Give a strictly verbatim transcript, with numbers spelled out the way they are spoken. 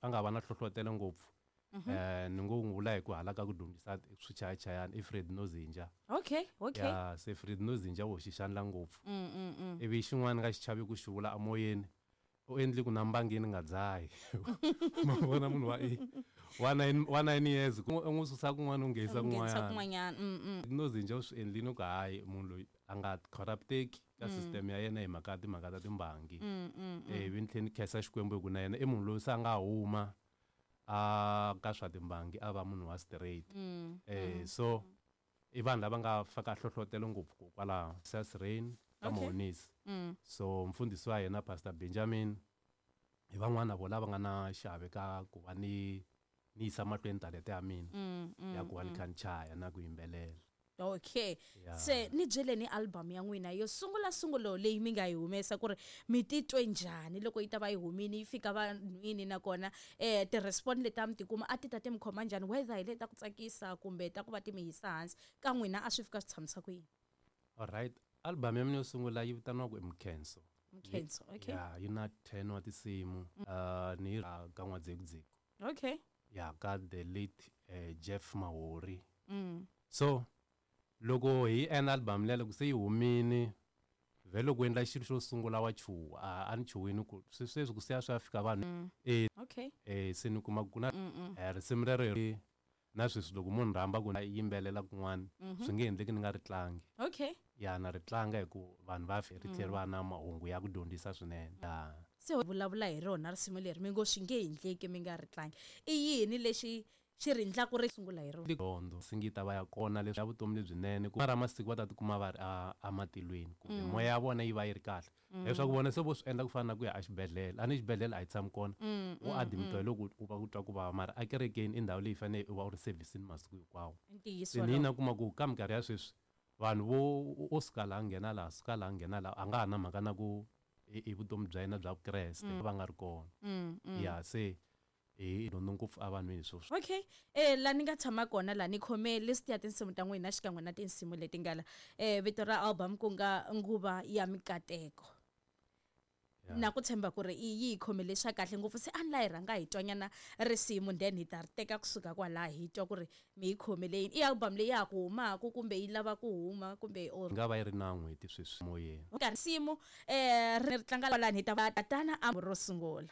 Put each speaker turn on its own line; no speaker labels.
a nga va na hlohlotelo ngopfu eh ni ngo n'wi vula hi ku hala ka ku dyondzisa swichayachayani i Fred Nozinja.
Okay okay.
Ya, se Fred Nozinja wo xi xandla ngopfu. Ivi xin'wana nga xi chavi ku xi vula amoyeni, u endli ku na mbangini nga dzahi. Ma vona munhu wa e wa nine wa nine years ku u n'wi susa kun'wana u nghenisa
kun'wanyana.
Kun'wanyana. Nozinja u swi endlini ku hayi munhu loyi a nga corrupteki ka system ya yena hi mhaka ya timhaka ta timbangi. Eh ivi ni tlhela ni khensa Xikwembu hi ku na yena i munhu loyi se a nga huma a ka swa timbangi a va munhu wa straight. Eh so i vanhu lava nga faka hlohlotelo ngopfu ku kwalaho Sas Rain ka Mahonisi. So mfundhisi wa yena Pastor Benjamin hi van'wana vo lava nga na xiave ka ku va ni ni yisa mahlweni talenta ya mina ya ku va ni kha ni chaya na ku yimbelela.
Okay.
Yeah.
Se ni byeleni album ya n'wina yo sungula sungulo leyi mi nga yi humesa ku ri mi titwe njhani loko yi ta va yi humini yi fika vanhwini, nakona eh ti-respond leti a mi tikuma a ti ta ti mi khoma njhani, whether hi leti ta ku tsakisa kumbe ta ku va ti mi yisa hansi ka n'wina a swi fika swi tshamisa ku yini?
All right. Album ya mina yo sungula yi vitaniwa ku i Mkhenso.
Mkhenso, okay.
Yeah, yi na ten wa tinsimu. Uh, ni yi ka N'wadzekudziku.
Okay.
Yeah, ka the late uh, Jeff Mahori.
Mm.
So loko hi endla album leyi loko se yi humini vhele loko endla xilo xo sungula wa chuha, a, a ni chuhini ku sweswi ku siya swi ya fika vanhu. Eh,
Okay.
eh se ni kuma ku na eh, risimu rero hi na sweswi loko munhu rhamba ku yimbelela kun'wana swi nge endleki ni nga ri tlangi.
Okay.
Ya na ri tlanga hi ku vanhu va ri tlhela va na mahungu ya ku dyondzisa swinene. Ya.
Se vulavula hi rona risimu leri mi ngo swi nge endleki mi nga ri tlangi, i yini lexi xi ri endlaku ri sungula hi rona?
Dyondzo singita va ya kona leswi ya vutomi lebyinene ku mara masiku va ta tikuma va ri a, a matilweni kumbe moya ya vona yi va yi ri kahle. Leswaku vona se vo swi endla ku fana na ku ya exibedhlele, a ni xibedhlele a yi tshami kona, u admitiwa loko u va u twa ku vava, mara ekerekeni i ndhawu leyi fanele u va u ri service-ini masiku hinkwawo.
Ntiyiso
Se ni na kuma ku ka minkarhi ya sweswi vanhu vo o suka laha nghena laha suka laha nghena laha a nga ha na mhaka na ku i vutomi bya yena bya Vukreste va nga ri kona. Ya se hi dyondza ngopfu evanhwini sweswi.
Okay. Eh la ni nga tshama kona la ni khome list ya tinsimu ta n'wina xikan'we na tinsimu leti nga la. Eh vito ra album ku nga Nguva ya Mikateko. Na ku tshemba ku ri i yi khomele swa kahle ngopfu, se a ni la hi rhanga hi twanyana risimu then hi ta ri teka kusuka kwalaho hi twa ku ri mi yi khomele yini. I album leyi ya ha ku humaka kumbe yi lava ku huma kumbe or
Yi nga va yi ri na n'hweti sweswi moyeni.
Ka risimu eh ri tlanga lani hi ta va tatana a ro sungula.